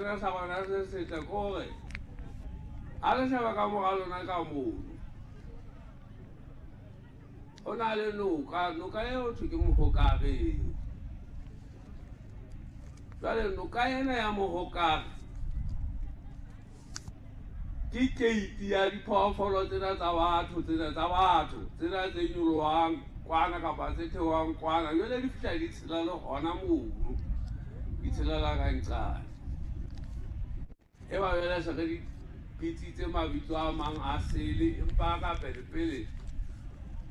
Sena sa bona se setle ke hore ha le sheba ka mora lona ka mono, ho na le noka, noka eo thwe ke Mohokareng. Jwale noka ena ya Mohokare ke keiti ya diphoofolo tsena tsa batho, tsena tsa batho, tsena tse nyolohang kwana kapa tse theohang kwana. Jwale di fihla di tshela le hona mono, di tshelela ka nqane. E ba jwale se re di bitsitse mabitso a mang a sele, empa ka pele pele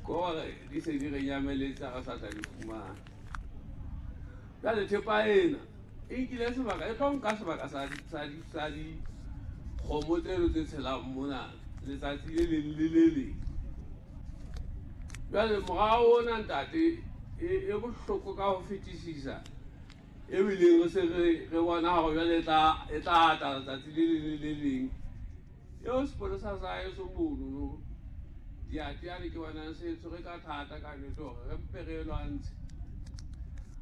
ke hore di se di re nyameletse ha re sa tla di fumana. Jwale thepa ena e nkile sebaka, e tlo nka sebaka sa dikgomo tseno tse tshelang mona letsatsi le leng le le leng. Jwale morao ona ntate e bohloko ka ho fetisisa, ebileng re se re bona hore jwale e tla ata letsatsi le leng le le leng. Eo sepolesa sa heso monono diateane ke bona se tshwere ka thata ka nnete hore re mpe re lwantshe.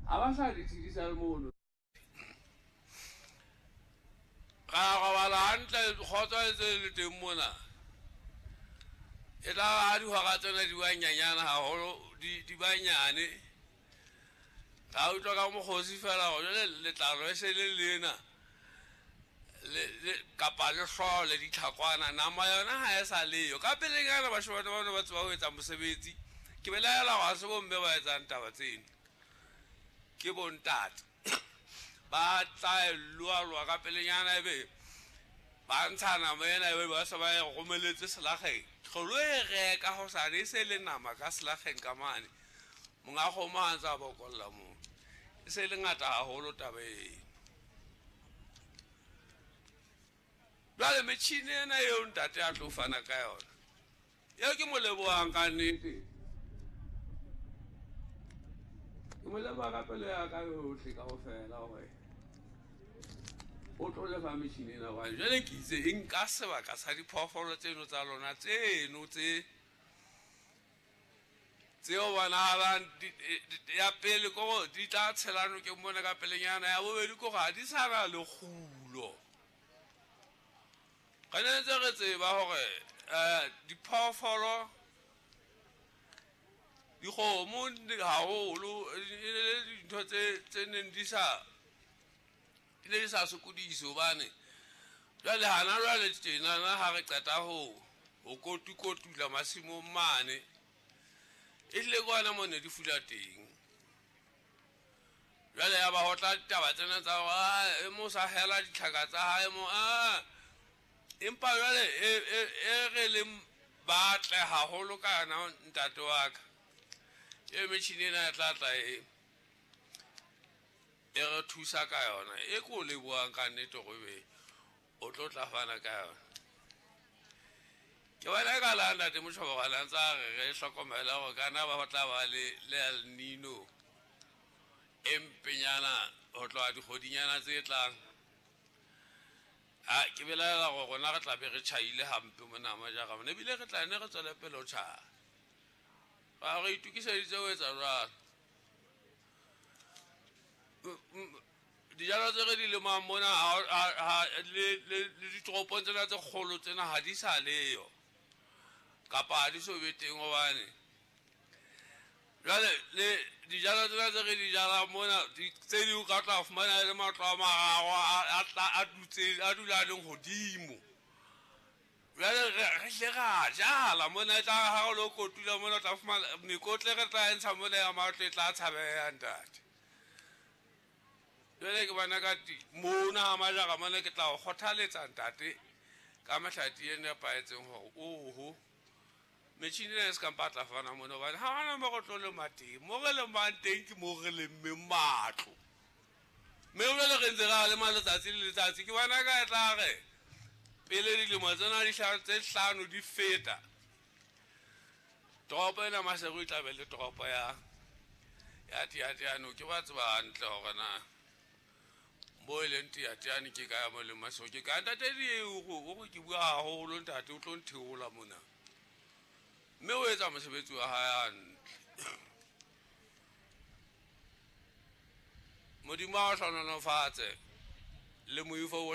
Ha ba sa di tshedisa le mono. Ra robala hantle, kgotso e ntse e le teng mona. E tla ba ha dihora tsena di ba nyanyana haholo, di ba nyane. Ra utlwa ka mokgosi fela hore jwale letlalo e se le lena, kapa le hlooho le ditlhakwana, nama yona ha e sa leyo. Ka pelenyana bashemane ba ne ba tseba ho etsa mosebetsi. Ke belaela hore ha se bomme ba etsang taba tseno, ke bontate. Ba tla e loaloa ka pelenyana, ebe ba ntsha nama ena, ebe ba se ba e romeletse selakgeng. Re lo e reka hosane, e se le nama ka selakgeng ka mane. Monga kgomo ha ntse a bokolla moo. E se le ngata haholo taba eno. Jwale metjhini ena eo ntate a tlo fana ka yona, eo ke mo lebohang ka nnete. Ke mo leboha ka pelo ya ka yohle kaofela hore o tlo lefa metjhini ena, hobane jwale ke itse e nka sebaka sa diphoofolo tseno tsa lona tseno tseo bonahalang ya pele ke hore di tla tshela nokeng mona ka pelenyana, ya bobedi ke hore ha di sa na le kgulo. Re ne ntse re tseba hore diphoofolo, dikgomo haholo e le dintho tse neng di sa, di ne di sa sokodise, hobane jwale hana jwale tjenana ha re qeta ho kotukotula masimong mane, e hlile ke hona moo ne di fula teng. Jwale ya ba ho tla ditaba tsena tsa hore, e mo sa hela ditlhaka tsa hae mo, empa jwale e re leng batle haholo ka yona ntate wa ka, e metjhini ena e tla tla e re thusa ka yona, e ko lebohang ka nnete hore ebe o tlo tla fana ka yona. Ke bona ka la ntate Motjhobo a ntse a re re hlokomele hore kana ba tla ba le El Nino e mpenyana ho tloha dikgwedinyana tse tlang. Ha ke belaela hore rona re tla be re tjhaile hampe mona majara mona, ebile re tla nne re tswele pele ho tjhaya. Ba re itokiseditse ho etsa jwalo. Dijalo tse re di lemang mona le ditoropong tsena tse kgolo tsena ha di sa leyo, kapa ha di so be teng, hobane jwale le dijalo tsena tse re di jalang mona, tse ding o ka tla fumana le matlo a mararo a dula a leng hodimo. Jwale re hle ra jala mona, e tla re ha re lo kotula mona, o tla fumana mekotla e re tla e ntsha mona ya matlo e tla tshabeha ntate. Jwale ke bona ka mona ha majara mona ke tla o kgothaletsa ntate ka mehlati e nepahetseng hore oho metjhini ena e se ka mpa tla fana mona, hobane ha hona mo re tlo lema teng. Mo re lemang teng ke mo re lemmeng matlo, mme jwale re ntse re a lema letsatsi le letsatsi. Ke bona ka e tla re pele dilemo tsena di tse hlano di feta, toropo ena Maseru e tla be le toropo ya Teateano. Ke ba tseba hantle hore na mo e leng Teateane ke kae, mo e leng Maseru ke kae. Ntate Dieu o re ke bua haholo ntate, o tlo ntheola mona, mme o etsa mosebetsi wa hae hantle. Modimo a o hlohonolofatse le moifo o